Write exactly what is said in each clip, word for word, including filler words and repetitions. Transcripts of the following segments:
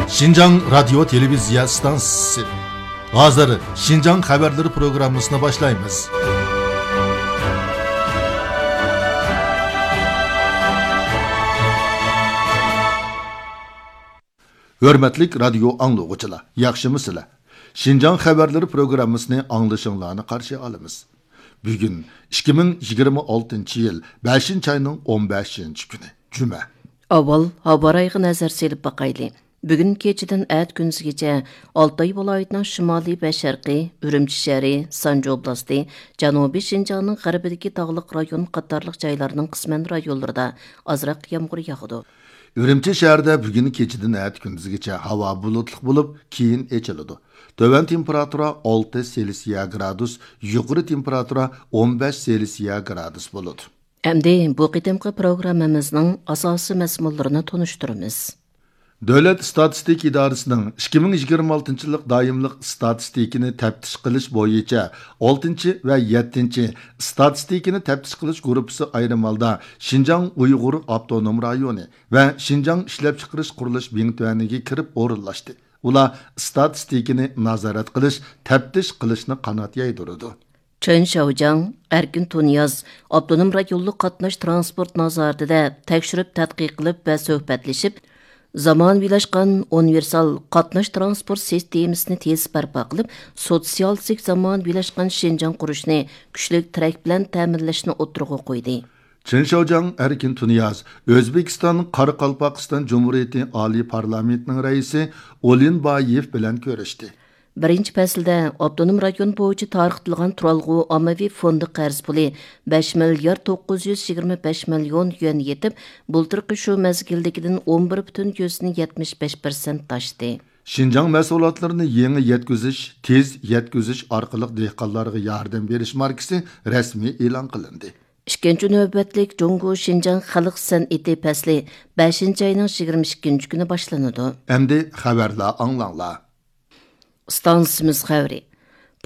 شىنجاڭ رادىيو تېلېۋىزىيە ئىستانسىسى. ھازىر شىنجاڭ خەۋەرلىرى پروگراممىسىنى باشلايمىز. ھۆرمەتلىك رادىيو ئاڭلىغۇچىلار، ياخشىمۇسىلەر؟ شىنجاڭ خەۋەرلىرى پروگراممىسىنى ئاڭلىشىڭلارنى قارشى ئالىمىز. بۈگۈن ئىككى مىڭ يىگىرمە ئالتىنچى يىل بەشىنچى ئاينىڭ ئون بەشىنچى كۈنى، جۈمە. ئاۋۋال ھاۋا رايىغا نەزەر سېلىپ باقايلى. بۈگۈن كېچىدىن ئەتە كۈندۈزگىچە ئالتاي ۋىلايىتىنىڭ شىمالىي ۋە شەرقىي، ئۈرۈمچى شەھىرى، سانجى ئوبلاستى، جەنۇبىي شىنجاڭنىڭ غەربىدىكى تاغلىق رايون قاتارلىق جايلارنىڭ قىسمەن رايونلىرىدا ئازراق يامغۇر ياغىدۇ. ئۈرۈمچى شەھىرىدە بۈگۈن كېچىدىن ئەتە كۈندۈزگىچە ھاۋا بۇلۇتلۇق بولۇپ، كېيىن ئېچىلىدۇ. تۆۋەن تېمپېراتۇرا ئالتە سېلسىيە گرادۇس، يۇقىرى تېمپېراتۇرا ئون بەش سېلسىيە گرادۇس بولىدۇ. ئەمدى بۇ قېتىمقى پروگراممىمىزنىڭ ئاساسىي مەزمۇنلىرىنى تونۇشتۇرىمىز. دۆلەت ئىستاتىستىكا ئىدارىسىنىڭ ئىككى مىڭ يىگىرمە ئالتىنچى يىللىق دائىملىق ئىستاتىستىكىنى تەپتىش قىلىش بويىچە ئالتىنچى ۋە يەتتىنچى ئىستاتىستىكىنى تەپتىش قىلىش گۇرۇپپىسى ئايرىم ھالدا شىنجاڭ ئۇيغۇر ئاپتونوم رايونى ۋە شىنجاڭ ئىشلەپچىقىرىش قۇرۇلۇش بىڭتۈەنىگە كىرىپ ئورۇنلاشتى. ئۇلار ئىستاتىستىكىنى نازارەت قىلىش، تەپتىش قىلىشنى قانات يايدۇرىدۇ. چېن شياۋجياڭ، ئەركىن تۇنىياز ئاپتونوم رايونلۇق قاتناش تىرانسپورت نازارىتىدە تەكشۈرۈپ تەتقىق قىلىپ ۋە سۆھبەتلىشىپ، زامانىۋىلاشقان ئۇنىۋېرسال قاتناش تىرانسپورت سىستېمىسىنى تېز بەرپا قىلىپ، سوتسىيالىستىك زامانىۋىلاشقان شىنجاڭ قۇرۇشنى كۈچلۈك تىرەك بىلەن تەمىنلەشنى ئوتتۇرىغا قويدى. چېن شياۋجياڭ ئەركىن تۇنىياز ئۆزبېكىستان قارىقالپاقىستان جۇمھۇرىيىتى ئالىي پارلامېنتىنىڭ رەئىسى ئولىنبايېف بىلەن كۆرۈشتى. بىرىنچى پەسىلدە ئاپتونوم رايون بويىچە تارقىتىلغان تۇرالغۇ ئاممىۋى فوندى قەرز پۇلى بەش مىليارد توققۇز يۈز يىگىرمە بەش مىليون يۈەن يېتىپ، بۇلتۇرقى شۇ مەزگىلدىكىدىن ئون بىر پۈتۈن يۈزدىن يەتمىش بەش پىرسەنت ئاشتى. شىنجاڭ مەھسۇلاتلىرىنى يېڭى يەتكۈزۈش، تېز يەتكۈزۈش ئارقىلىق دېھقانلارغا ياردەم بېرىش ماركىسى رەسمىي ئېلان قىلىندى. ئىككىنچى نۆۋەتلىك جۇڭگو شىنجاڭ خەلق سەنئىتى پەسلى بەشىنچى ئاينىڭ يىگىرمە ئىككىنچى كۈنى باشلىنىدۇ. ئەمدى خەۋەرلەر ئاڭلاڭلار. ئىستانسىمىز خەۋىرى.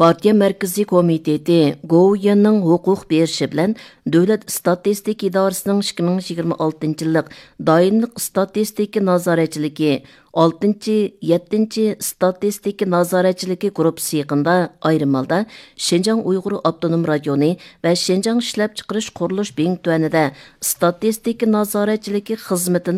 پارتىيە مەركىزىي كومىتېتى گوۋۇيۈەننىڭ ھوقۇق بېرىشى بىلەن دۆلەت ئىستاتىستىكا ئىدارىسىنىڭ ئىككى مىڭ يىگىرمە ئالتىنچى يىللىق دائىملىق ئىستاتىستىكا نازارەتچىلىكى ئالتىنچى، يەتتىنچى ئىستاتىستىكا نازارەتچىلىكى گۇرۇپپىسى يېقىندا ئايرىم ھالدا شىنجاڭ ئۇيغۇر ئاپتونوم رايونى ۋە شىنجاڭ ئىشلەپچىقىرىش قۇرۇلۇش بىڭتۈەنىدە ئىستاتىستىكا نازارەتچىلىكى خىزمىتىنى